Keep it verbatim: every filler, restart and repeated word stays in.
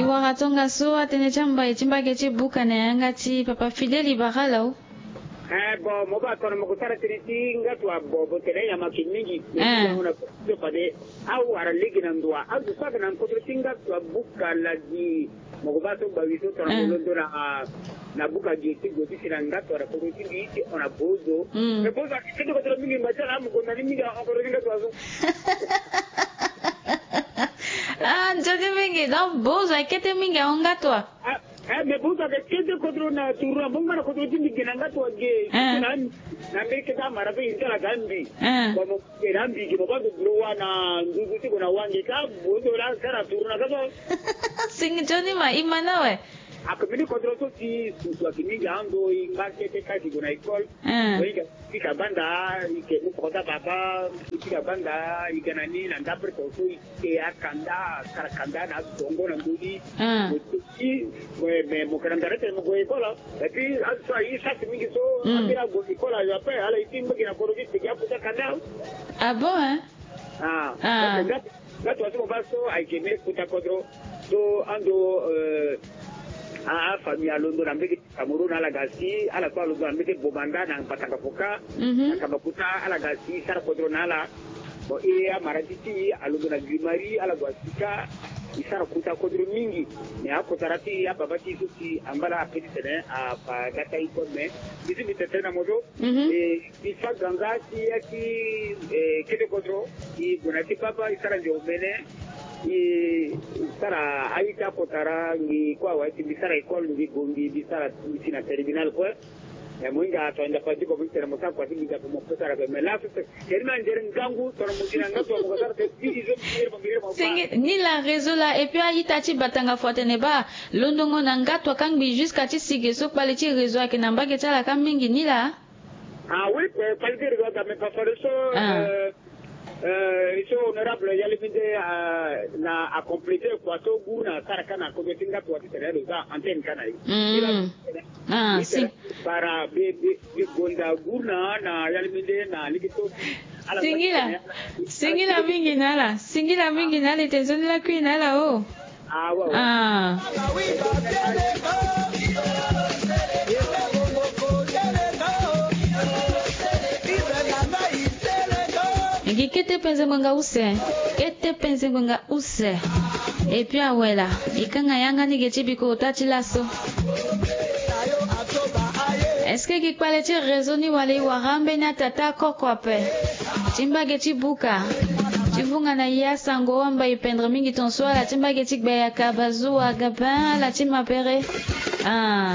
Wara tongaso atene ti ambai ti mbage ti buka na yanga ti papa Fidèle Ibarala o. Eh bon, mo baa tongana mo ko sara tënë ti ngatu abo, mo tene nyama ke mingi. Eh. Fade awara lege na ndo wa azo so ayeke na kodro ti ngatu abuka ladi. Mo ko baa so gbawi so tongana mo londo na, na buka gi ti go ti si na ngatu wala kodro ti mbi ti hon na bozo. Mm. Mais bozo ayeke kete kodro mingi, mba ti ala amu gonda ni mingi ahon kodro ti ngatu wa so. Ah, nzoni mingi. Donc bozo ayeke kete mingi ahon ngatu wa. Ah, eh, mais bozo ayeke kete kodro na turu na mbongo na kodro ti mbi ge na ngatu wa ge. Eh. Na, na mbeni kete amara so ye ti ala ga mbi. Eh. Bon, mo ge na mbi ge, mo baa ndo dro wa na nduzu ti go na wange ka bozo la sara turu na ka so. Singi nzoni ma, e ma na awe. Ake mbeni kodro so si susu ayeke mingi ando, e ngba kete ka si go na école. Eh. Bon, e ga pika banda, e ke mu kota baba, e pika banda, e ga na ni na ndapre to so e ke akanda, asara kanda na azongo na ndoni. Eh. Mo teki, mo, me, mo ke na ndara tene mo gue école. Et puis azo so aye chance mingi so, mm, ambeni ague école ayo ape, ala ye ti mbage na kodro ti teki akota kanda. Ah bon, hein? Ah. Ah. Donc, nga, nga tongaso mo baa so ayeke mbeni kota kodro. So ando, euh, a, afamille alondo na mbage ti Cameroun, ala ga si, ala so alondo na mbage ti Bamenda na Batanga Foka, mhm, na Kabakuta, ala ga si, sara kodro na ala. Bon, e amara ti ti alondo na Guimari, ala gue asi ka, e sara kota kodro mingi. Mais akotara ti ababa ti e so si angba laa ape titene afa ga ti aye kue, mais mbi si mbi tene tënë na mo so. Mhm. E, e fa ganza ti ya ti, eh, kete kodro, e gue na ti baba, e sara nze omene, e sara aye ti akotara, ngi kue awe ti mbi sara école, ngi gue, ngi, mbi sara, mbi si na terminal kue. Eh, mo hinga tongana Ndapa Diko, mo tene mo sara kua ti mbi Ndapa, mo pe sara ape. Mais laso te, keri na ndere ngangu, tongana mo gi na ngatu wa mo ko sara te, mbi izo mbi yere mo, mbi yere mo. Singi, ni la réseau la, et puis a-ita ti Batanga Foka atene baa londongo na ngatu wa kangbi jusqu'à ti si ge so kpale ti réseau ayeke na mbage ti ala ka mingi ni la. Ah oui, eh, kpale ti réseau aga, mais papa le so, ah, euh, euh, e so honorable Yaliminde, ah, na a compléter kua so guru na asara ka na kodro ti ngatu wa titene lo za antenne ka na e. Mm. Ah, si. Para be, be, be gonda guru na, na Yaliminde na lege so. Ala singila. Singila mingi na ala. Singila mingi na ala, e tene nzoni lakui na ala o. Ah, ouais, ouais. Ah. E gi kete penze ngbanga use. Kete penze ngbanga use. Et puis awe la, e kanga yanga ni ge ti bikota ti laso. Est-ce que gi kpale ti réseau ni wala e wara ambeni atata akoko ape? Ti mbage ti buka. Ti vunga na ya sango wamba e pendre mingi ton so ala ti mbage ti gbeyaka bazuwa gabin ala ti mapere. Ah.